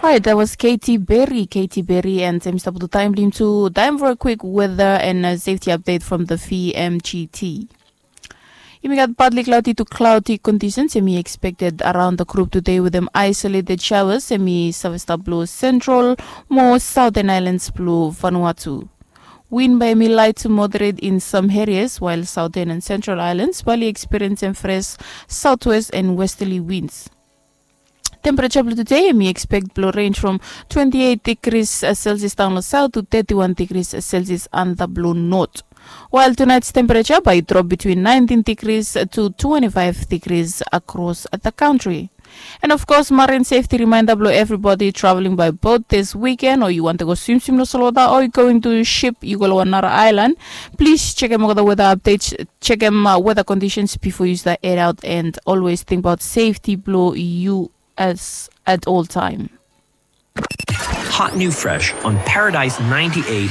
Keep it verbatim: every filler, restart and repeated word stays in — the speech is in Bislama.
Right, that was Katy Berry, Katy Berry, and em i stap tu taem blong yumi tu taem for a quick weather and a safety update from the V M G T. Yumi gat partly cloudy to cloudy conditions em i expected around the group today with them isolated showers em i save stap blong central mo southern islands blong Vanuatu. Wind bae em i light to moderate in some areas, while southern and central islands bae oli experience em fresh southwest and westerly winds. Temperature blong today em i expect blong range from twenty-eight degrees Celsius down long south to thirty-one degrees Celsius under blong north. While tonight's temperature bae i drop between nineteen degrees to twenty-five degrees across the country. And of course, marine safety reminder blong everybody traveling by boat this weekend, or you want to go swim swim long solota, or you going to ship, you go long another island, please check em all the weather updates, check em uh, weather conditions before you start head out, and always think about safety blong you as at all time. Hot new fresh on Paradise ninety-eight.